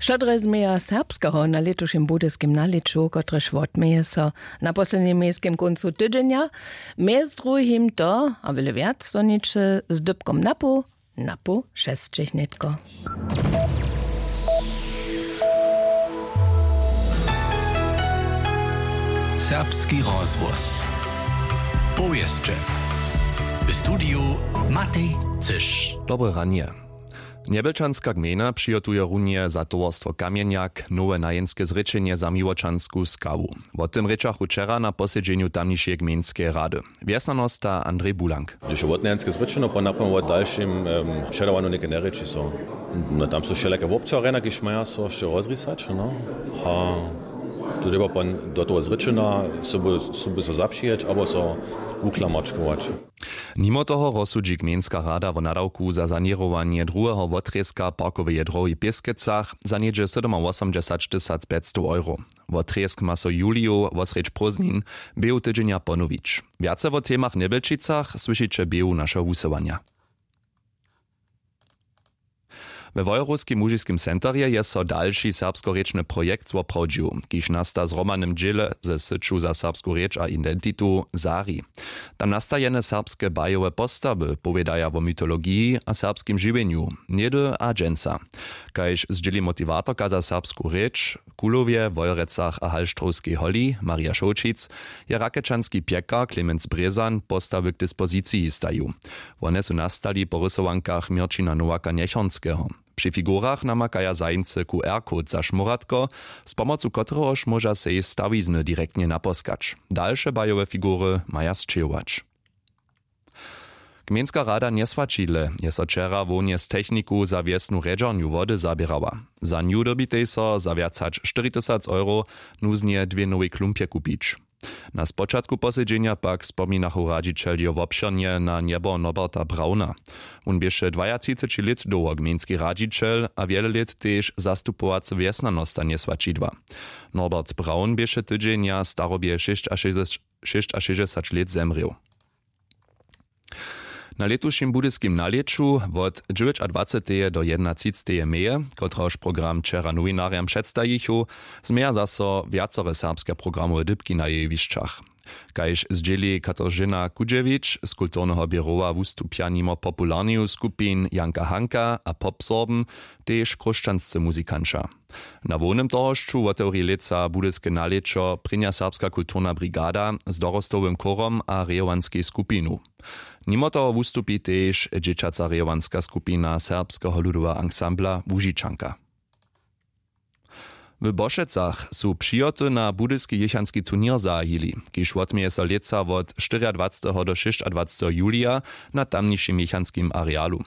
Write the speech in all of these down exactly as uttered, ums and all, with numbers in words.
Što drje změja serbskeho na lětušim budyskim nalěću, kotrež wotměje so na poslednim mějskim kóncu tydźenja? Mjez druhim to a wjele wjac doniče z dypkom napoł napoł šesćich nětko. Serbski rozhłos. Powěsće. W studiju Matej Cyš. Dobre ranje. Njebjelčanska gmejna přihotuje runje za towarstwo Kamjenjak nowe najenske zrěčenje za miłočansku skawu. Wo tym rěčachu wčera na posedźenju tamnišeje gmejnskeje rady. Wjesnjanosta Andrej Bulank. Hdyž je wotnajenske zrěčeno, po napomnje wo dalšim předawanju něke njerěči so. No, tam su wšelake wobtwarjenja, kiž maja so hišće rozrisać, no. A tu dyrbja pon do toho zrěčena sobu, sobu so zapřijeć abo so wuklamačkować. Nimo toho rozsudźi gmejnska rada wo nadawku za saněrowanje druheho wotrězka parkoweje drohi w Pěskecach za něhdźe sydomawosomdźesaćtysac pjećstow euro. Wotrězk ma so juliju wosrjedź prózdnin běhu tydźenja ponowić. Wjace wo temach w Njebjelčicach słyšiće běhu našeho wusyłanja. We Wojerowskim łužiskim centerje je so dalši serbskorěčny projekt zwoprawdźił, kiž nasta w zhromadnym dźěle ze syću za serbsku rěč a identitu Sari. Tam nastajene serbske bajowe postawy powědaja wo mytologiji a serbskim žiwjenju něhdy a dźensa. Kaž zdźěli motiwatorka za serbsku rěč w Kulowje, Wojerecach a Halštrowskej holi Marja Šołćic, je rakečanski pjekar Clemens Brězan postawy k dispoziciji stajił. Wone su nastali po rysowankach Měrćina Nowaka-Njechornskeho. Při figurach namakaja zajimcy QR-code za šmóratko, z pomocu kotrehož móža sej stawizny direktnje naposkać. Dalše bajowe figury maja sćěhować. Gmejnska rada Njeswaćidle je so wčera hłownje z technikow za wjesnu rjedźernju wody zaběrała. Za nju dyrbitej so za wjac hač štyri tysac euro nuznje dwě nowej klumpje kupić. Na spočatku posedźenja pak spominachu radźićeljo wobšěrnje na njebo Norberta Brauna. Wón běše dwajatřiceći lět dołho gmejnski radźićel a wjele lět tež zastupowacy wjesnjanosta Njeswaćidła. Norbert Braun běše tydźenja starobje šěsćašěsćdźesat lět zemrěł. Na lětušim budyskim nalěću wot dźewjećadwaceteje do jednatřiceteje meje, kotrehož program wčera nowinarjam předstajichu, změja zaso wjacore serbske programowe dypki na jewišćach. Kaž zdźěli Katarzyna Kudźewić z kulturneho běrowa, wustupja nimo popularneju skupin Janka Hanka a Pop Sorben tež chróšćanscy muzikanća. Na hłownym tohošću wotewri lětsa budyske nalěćo prěnja serbska kulturna brigada z dorostowym chórom a rejowanskej skupinu. Nimo toho wustupi tež dźěćaca rejowanska skupina serbskeho ludoweho ansambla Łužičanka. W Bošecach su přihoty na budyski jěchanski turněr zahajili, kiž wotměje so lětsa wot štyriadwaceteho do šěsćadwaceteho julija na tamnišim jěchanskim arealu.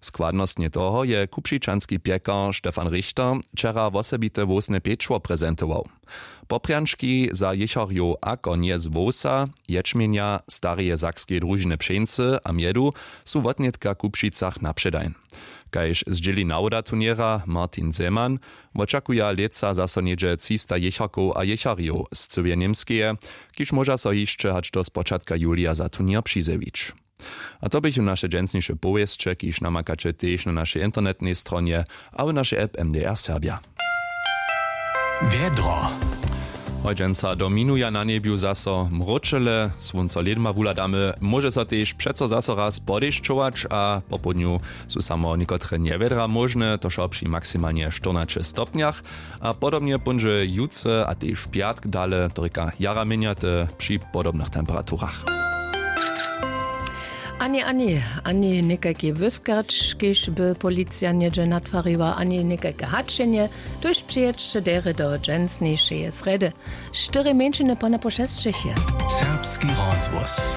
Składnostnje toho je kupšičanski pjekar Stefan Richter wčera wosebite hłowsne pječło prezentował. Poprjančki za jěcharjow ako njez hłowsa, ječmjenja, stareje sakskeje družiny pšeńcy a mjedu su wotnětka w Kupšicach na předaj. Kaž zdźěli nawoda turněra Martin Zeman, wočakuja lětsa zaso něhdźe třista jěcharkow a jěcharjow z cyłeje Němskeje, kiž móža so hišće hač do spočatka julija za turněr přizjewić. A to běchu naše dźensniše powěsće, kiž namakaće tež na našej internetnej stronje a w našej app M D R Serbja. Wjedro. Hojdźenca dominuja na njebju zaso mróčele, słónco lědma wuhladamy, móže so tež přeco zaso raz podešćować a popołdnju su samo někotre njewjedra móžne, to wšo při maksimalnje štyrnaće stopnjach. A podobnje póńdźe jutře a tež w pjatk dale, to rěka jara měnjate při podobnych temperaturach. Ani, ani, ani někajki wyskać, kiž by policija něhdźe natwariła, ani někajke hačenje, tuž přijědźće derje do dźensnišeje srjedy. Štyri mjeńšiny po napoł šesćich je. Serbski rozhłos.